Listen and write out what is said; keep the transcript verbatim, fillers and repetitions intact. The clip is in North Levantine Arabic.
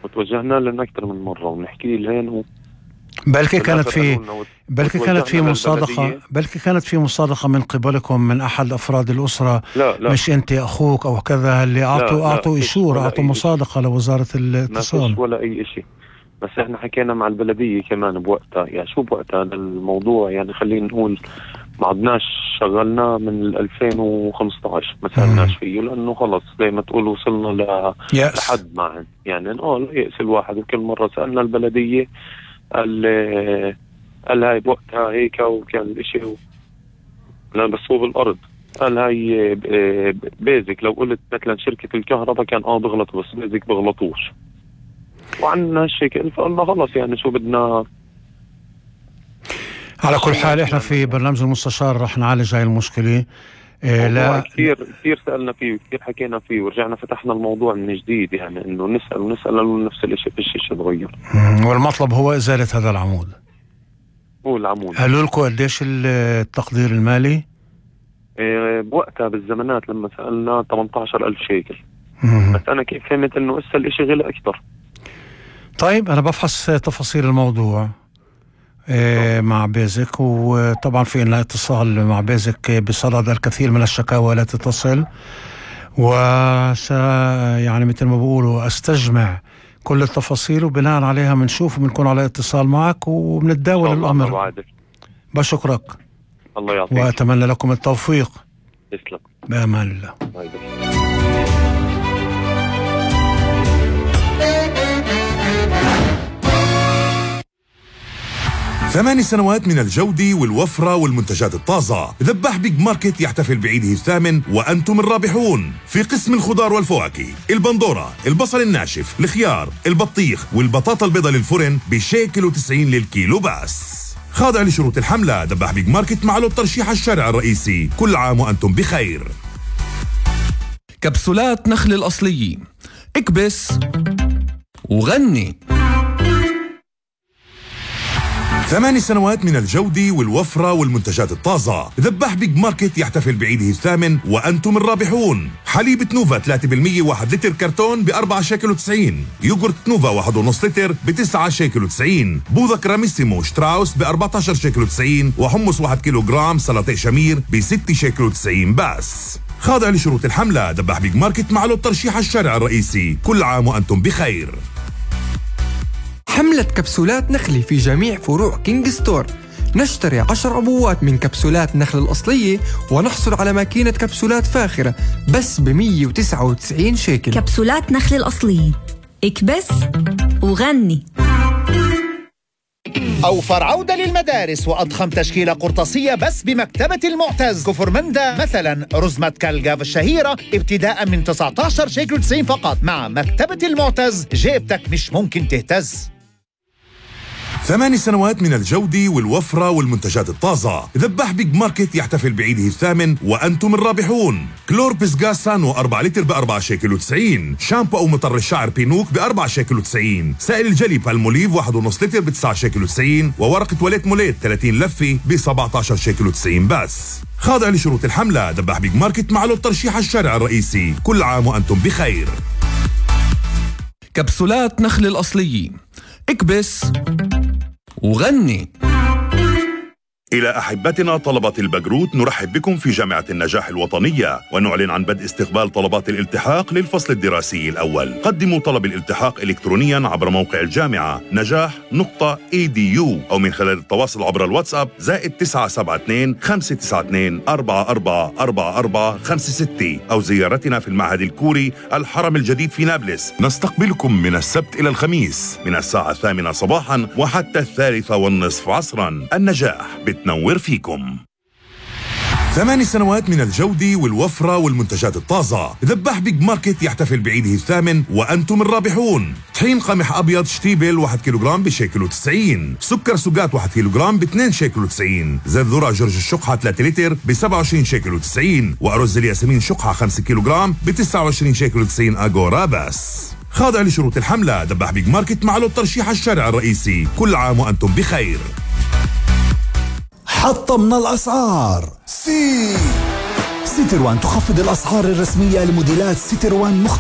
وتوجهنا لنا أكثر من مرة ونحكي لهن و... بلكي كانت في بلكي كانت في مصادقة بلكي كانت في مصادقة من قبلكم من أحد أفراد الأسرة. لا لا مش أنت أخوك أو كذا اللي أعطوا أعطوا إشورة أعطوا مصادقة لوزارة الاتصال؟ ما ولا أي إشي، بس إحنا حكينا مع البلدية كمان بوقتها. يعني شو بوقتها الموضوع، يعني خلينا نقول ما عدناش شغلنا من ألفين وخمسة عشر ما سألناش فيه، لأنه خلص زي ما تقول وصلنا ل... لحد معن يعني اه لا يأس الواحد. وكل مرة سألنا البلدية قال قال هاي بوقتها هيك وكان الاشي و... لا بس هو بالارض قال هاي بيزك. لو قلت مثلا شركة الكهرباء كان اه بغلطوا، بس بيزك بغلطوش وعنا هالشكل. فقلنا خلص يعني شو بدنا. على كل حال احنا في برنامج المستشار رح نعالج هاي المشكلة. إيه لا كثير كثير سألنا فيه وكثير حكينا فيه ورجعنا فتحنا الموضوع من جديد، يعني انه نسأل ونسأل نفس الاشي في الشيء تغير. والمطلب هو ازالة هذا العمود. هو العمود. قالوا لكم قديش التقدير المالي؟ إيه بوقتها بالزمانات لما سألنا ثمانية عشر ألف شيكل. مم. بس انا كيف فهمت انه اسا الاشي غلى اكثر. طيب انا بفحص تفاصيل الموضوع إيه مع بيزك، وطبعا في لنا اتصال مع بيزك بصدد الكثير من الشكاوى التي تصل، وس يعني مثل ما بقولوا استجمع كل التفاصيل وبناء عليها بنشوف وبنكون على اتصال معك وبنتداول الامر. بشكرك. الله يعطيك واتمنى لكم التوفيق. تسلم. بامان الله. ثماني سنوات من الجودة والوفرة والمنتجات الطازة. ذباح بيج ماركت يحتفل بعيده الثامن وأنتم الرابحون. في قسم الخضار والفواكه البندورة، البصل الناشف، الخيار، البطيخ والبطاطا البيضاء للفرن بشيكل وتسعين للكيلو بس. خاضع لشروط الحملة. ذباح بيج ماركت معه الترشيح الشارع الرئيسي. كل عام وأنتم بخير. كبسولات نخل الأصلية، اكبس وغني. ثماني سنوات من الجودة والوفرة والمنتجات الطازة. ذباح بيج ماركت يحتفل بعيده الثامن وأنتم الرابحون. حليب نوفا ثلاثة بالمية واحد لتر كرتون بأربعة شيكل وتسعين. يوغورت نوفا واحد ونص لتر بتسعة شيكل وتسعين. بوظة كراميسيمو شتراوس بأربعة عشر شيكل وتسعين. وحمص واحد كيلو جرام سلطة شمير بستة شيكل وتسعين بس. خاضع لشروط الحملة. ذباح بيج ماركت معه الترشيح الشارع الرئيسي. كل عام وأنتم بخير. حملة كبسولات نخلي في جميع فروع كينج ستور. نشتري عشر عبوات من كبسولات نخل الأصلية ونحصل على ماكينة كبسولات فاخرة بس ب مية وتسعة وتسعين شيكل. كبسولات نخل الأصلية، اكبس وغني. أوفر عودة للمدارس وأضخم تشكيلة قرطاسية بس بمكتبة المعتز. كفر مندا مثلا رزمة كالجاف الشهيرة ابتداء من تسعة عشر شيكل وتسعين فقط. مع مكتبة المعتز جيبتك مش ممكن تهتز. ثماني سنوات من الجودة والوفرة والمنتجات الطازة. ذباح بيج ماركت يحتفل بعيده الثامن وأنتم الرابحون. كلور بسغاس سانو أربعة لتر بأربعة شيكل وتسعين. شامبو أو مطر الشعر بينوك بأربعة شيكل وتسعين. سائل الجلي بالموليف واحد ونص لتر بتسعة شيكل وتسعين. وورقة تواليت موليت ثلاثين لفة بسبعة عشر شيكل وتسعين بس. خاضع لشروط الحملة. ذباح بيج ماركت معه الترشيح الشارع الرئيسي. كل عام وأنتم بخير. كبسولات نخل الأصلية، اكبس وغني. إلى أحبتنا طلبة البكالوريوس نرحب بكم في جامعة النجاح الوطنية ونعلن عن بدء استقبال طلبات الالتحاق للفصل الدراسي الأول. قدموا طلب الالتحاق إلكترونياً عبر موقع الجامعة نجاح نقطة إي دي يو أو من خلال التواصل عبر الواتساب زائد تسعة سبعة اثنين خمسة تسعة اثنين أربعة أربعة أربعة أربعة خمسة ستة أو زيارتنا في المعهد الكوري الحرم الجديد في نابلس. نستقبلكم من السبت إلى الخميس من الساعة الثامنة صباحاً وحتى الثالثة والنصف عصراً. النجاح بتنور فيكم. ثماني سنوات من الجودة والوفرة والمنتجات الطازة. ذباح بيج ماركت يحتفل بعيده الثامن وأنتم الرابحون. طحين قمح أبيض شتيبل واحد كيلوغرام بشيكل وتسعين. سكر سوقات واحد كيلوغرام باثنين شيكل وتسعين. زيت ذرة جورج الشقحة ثلاثة لتر بسبعة وعشرين شيكل وتسعين. وأرز الياسمين شقحة خمسة كيلوغرام بتسعة وعشرين شيكل وتسعين أغورا بس. خاضع لشروط الحملة. ذباح بيج ماركت معه الترشيح الشارع الرئيسي. كل عام وأنتم بخير. حطمنا الأسعار. سي سيتروان تخفض الأسعار الرسمية لموديلات سيتروان مختلفة